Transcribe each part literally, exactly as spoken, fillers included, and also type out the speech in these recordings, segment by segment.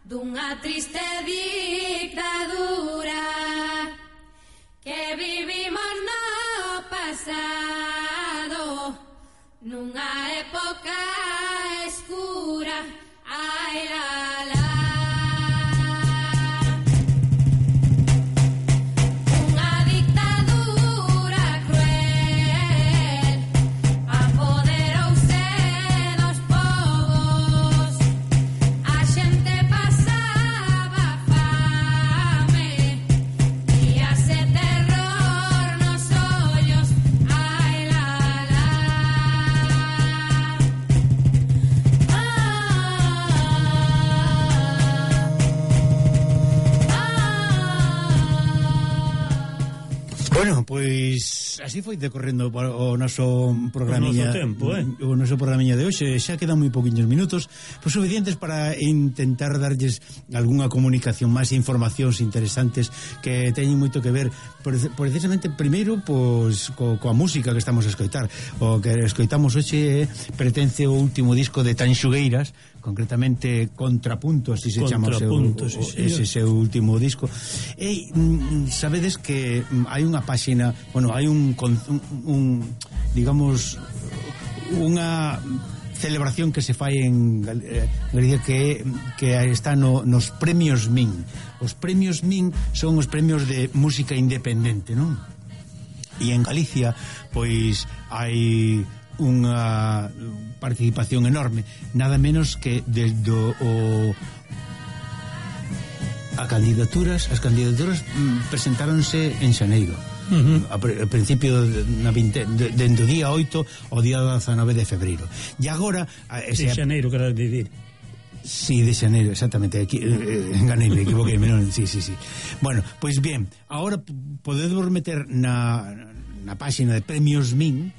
dunha triste dictadura que vivimos no pasado, nunha época escura. Ai la la. Bueno, pois así foi decorrendo o noso programiña, o noso tempo, eh? o noso programiña de hoxe. Xa quedan moi poquinhos minutos, pois suficientes para intentar darlles algunha comunicación, máis informacións interesantes que teñen moito que ver precisamente primeiro pois co, coa música que estamos a escoitar. O que escoitamos hoxe eh, pertence ao último disco de Tanxugueiras, concretamente Contrapunto, así se chama o seu, o, sí, ese seu último disco. E mm, sabedes que mm, hai unha páxina, bueno, hai un, un, un digamos unha celebración que se fai en Galicia que, que está no, nos premios Min. Os premios Min son os premios de música independente, non? E en Galicia pois hai unha participación enorme, nada menos que desde o a candidaturas as candidaturas presentáronse en xaneiro. Uh-huh. A, a principio na vinte, de, dentro do día oito ao día dezanove de febreiro. E agora ese, de xaneiro, quero dicir. Sí, de xaneiro, exactamente. Aquí, eh, enganei, me equivoquei, non, sí, sí, sí. Bueno, pois bien, agora podemos meter na na páxina de Premios Min,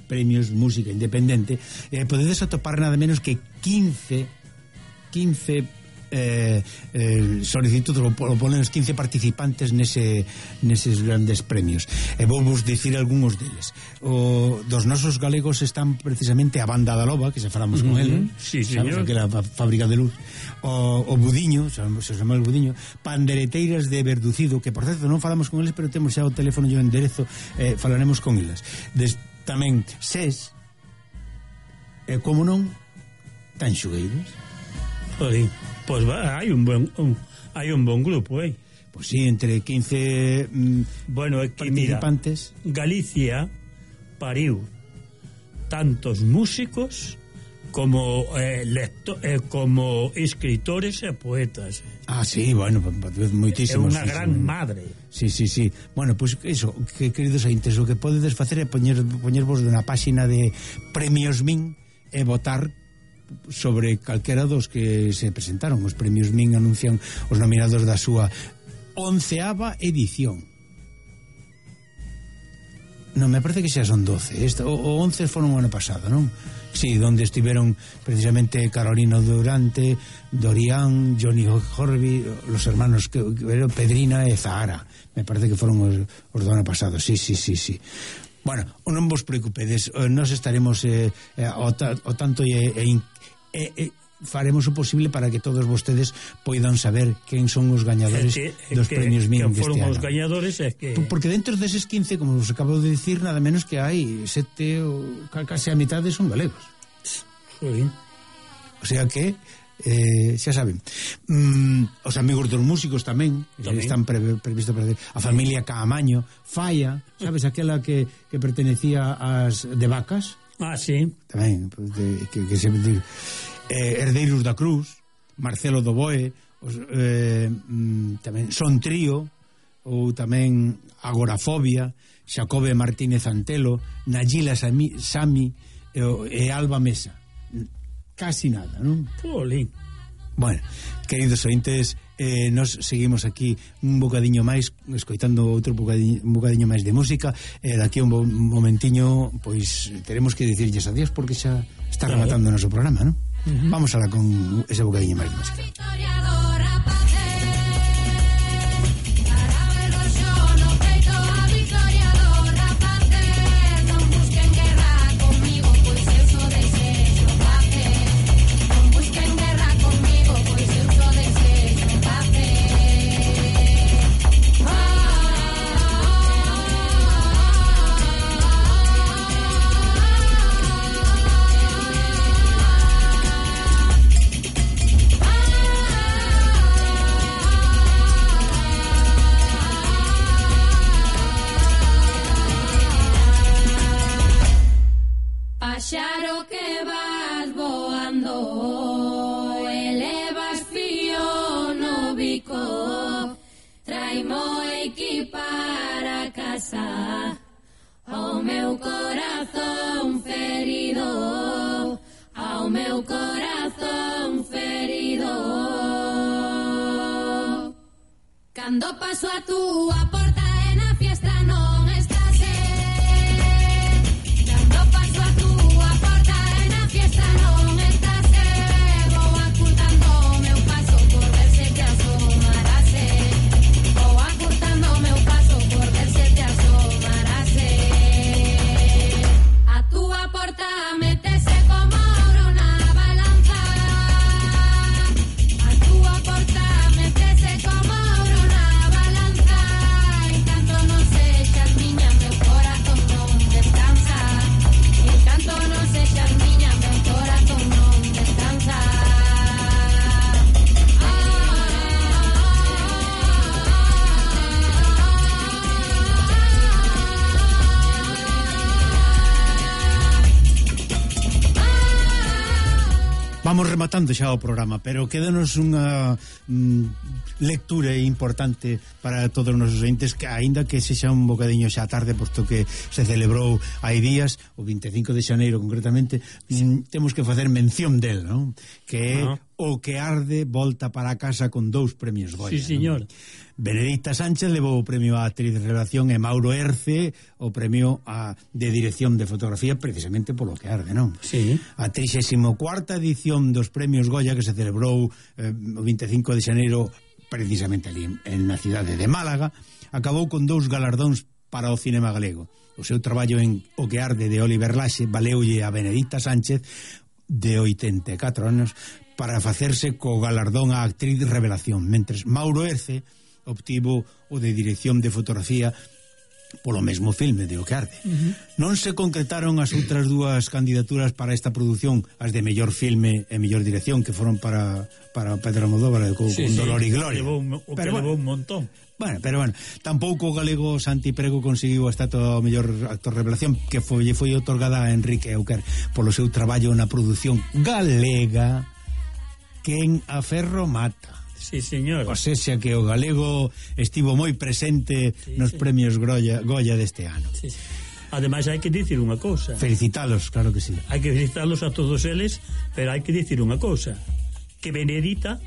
Premios Música Independente, eh, podedes atopar nada menos que quince quince eh, eh, solicitudes ou ponen os quince participantes nese, neses grandes premios. E vou vos dicir algúns deles. O, dos nosos galegos están precisamente a Banda da Loba, que se falamos con uh-huh. ele, sí, sabes, señor, aquela fábrica de luz. O, o Budiño, se chama el Budiño. Pandereteiras de Verducido, que por certo non falamos con eles, pero temos xa o teléfono e o enderezo, eh, falaremos con eles. Des, tamén SES, e como non, Tanxugueiras. Pois, pois hai un bon un, hai un bon grupo, eh. Pois sí, entre quince mm, bueno, é que participantes. Mira, Galicia pariu tantos músicos como eh, lecto, eh, como escritores e poetas. Ah, sí, bueno, moitísimos. É unha gran madre. Sí, sí, sí. Bueno, pois pues eso, que queridos ointes, o que podedes facer é poñer poñervos na páxina de Premios Min e votar sobre calquera dos que se presentaron. Os Premios Min anuncian os nominados da súa onceava edición. Non, me parece que xa son doce. Esta, o, o once foron o ano pasado, non? Sí, donde estiveron precisamente Carolina Durante, Dorian, Johnny Horby, los hermanos que, que, Pedrina e Zahara. Me parece que foron os, os do ano pasado. Sí, sí, sí, sí. Bueno, non vos preocupedes, nos estaremos eh, o, ta, o tanto e, e, e, e faremos o posible para que todos vostedes poidan saber quen son os gañadores que, dos que, premios Min deste ano. Foron os gañadores é que... Porque dentro deses quince, como vos acabo de dicir, nada menos que hai sete ou casi a mitade son galegos. Sí. O sea que eh, xa saben, mm, os amigos dos músicos tamén, tamén. Están pre, previsto para a familia Caamaño, Falla, sabes, aquela que, que pertenecía ás de Vacas. Ah, sí. Tamén, de, que, que se eh, Herdeiros da Cruz, Marcelo Doboe, os, eh, mm, tamén Son Trío, ou tamén Agorafobia, Xacobe Martínez Antelo, Nayila Sami, Sami e, e Alba Mesa. Casi nada, non? Polín. Bueno, queridos ointes, eh, nos seguimos aquí un bocadiño máis, escoitando outro bocadiño, un bocadiño máis de música, e eh, daqui un momentiño, pois, teremos que dicirlles adiós porque xa está rematando o noso programa, non? Uh-huh. Vamos alá con ese bocadiño máis de música. Busquen guerra conmigo, pues eu sou de médico, traimo aquí para casa, ao meu corazón ferido, ao meu corazón ferido. Cando paso a túa porta e na fiesta non estás, eh. Cando paso a túa porta e na fiesta non estás, eh. Vou acurtando o meu paso por ver se te asomarás, eh. Vou acurtando o meu paso por ver se te asomarás, eh. A túa porta metese como ouro na balanza, a túa porta metese como ouro na balanza, en canto non sexas miña meu corazón non descansa, en canto non sexas miña meu corazón non descansa. Vamos rematando xa o programa, pero quédanos unha mm, lectura importante para todos os nosos entes, que aínda que sexa un bocadiño xa tarde, posto que se celebrou hai días, o vinte e cinco de xaneiro concretamente, mm, temos que facer mención del, non? Que é uh-huh. O que arde volta para casa con dous premios Goya. Sí, señor. Non? Benedicta Sánchez levou o premio a actriz de revelación e Mauro Erce o premio a, de dirección de fotografía, precisamente polo que arde, non? Sí. A trixésima cuarta edición dos premios Goya, que se celebrou eh, o vinte e cinco de xaneiro precisamente ali en, en na cidade de Málaga, acabou con dous galardóns para o cinema galego. O seu traballo en O que arde de Oliver Laxe valeulle a Benedicta Sánchez, de oitenta e catro anos, para facerse co galardón a actriz de revelación, mentres Mauro Erce obtivo o de dirección de fotografía polo mesmo filme de O que arde. Uh-huh. Non se concretaron as outras dúas candidaturas para esta produción, as de mellor filme e mellor dirección, que foron para para Pedro Almodóvar con, sí, con sí, Dolor e Gloria. Levou, o que pero, levou bueno, un montón. Bueno, pero bueno, tampouco o galego Santi Prego conseguiu a estatua ao mellor actor revelación, que foi, foi otorgada a Enrique Euquer polo seu traballo na produción galega Quen a ferro mata. Sí, señor. O sea que o galego estivo moi presente sí, nos sí. premios Goya, Goya deste ano. Sí, sí. Ademais hai que dicir unha cousa. Felicitalos, claro que sí. Hai que felicitalos a todos eles, pero hai que dicir unha cousa, que Benedita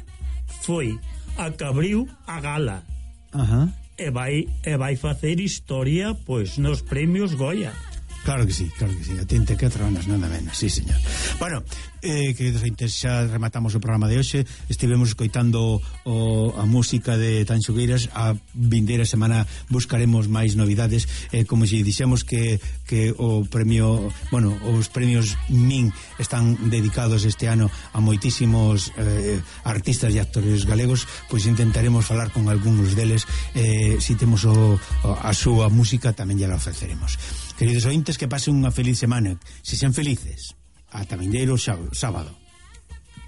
foi a que abriu a gala. Ajá. E vai e vai facer historia pois nos premios Goya. Claro que sí, claro que sí, a trinta e catro anos, nada menos, sí, señor. Bueno, eh, queridos ointes, xa rematamos o programa de hoxe. Estivemos escoitando o, a música de Tanxo Gueiras. A vindeira semana buscaremos máis novidades, eh, como se dixemos que, que o premio, bueno, os premios Min están dedicados este ano a moitísimos eh, artistas e actores galegos, pois intentaremos falar con algúns deles. Eh, si temos o, o, a súa música tamén ya la ofreceremos. Queridos ointes, que pasen unha feliz semana. Se sean felices, ata vindeiro sábado.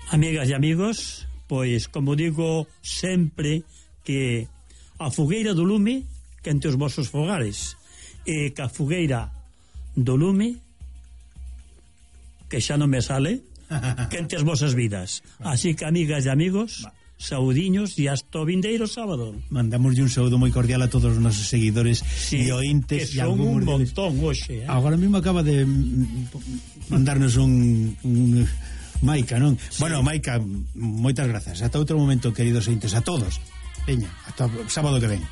Amigas e amigos, pois, como digo sempre, que a fogueira do lume quente os vosos fogares, e que a fogueira do lume, que xa non me sale, quente as vosas vidas. Así que, amigas e amigos, saudiños e hasta o vindeiro sábado. Mandamos un saúdo moi cordial a todos os nosos seguidores sí, e ointes, que son un montón hoxe, eh? Agora mesmo acaba de mandarnos un, un Maica, non? Sí. Bueno, Maica, moitas grazas. Ata outro momento, queridos ointes, a todos. Veña, hasta o sábado que ven.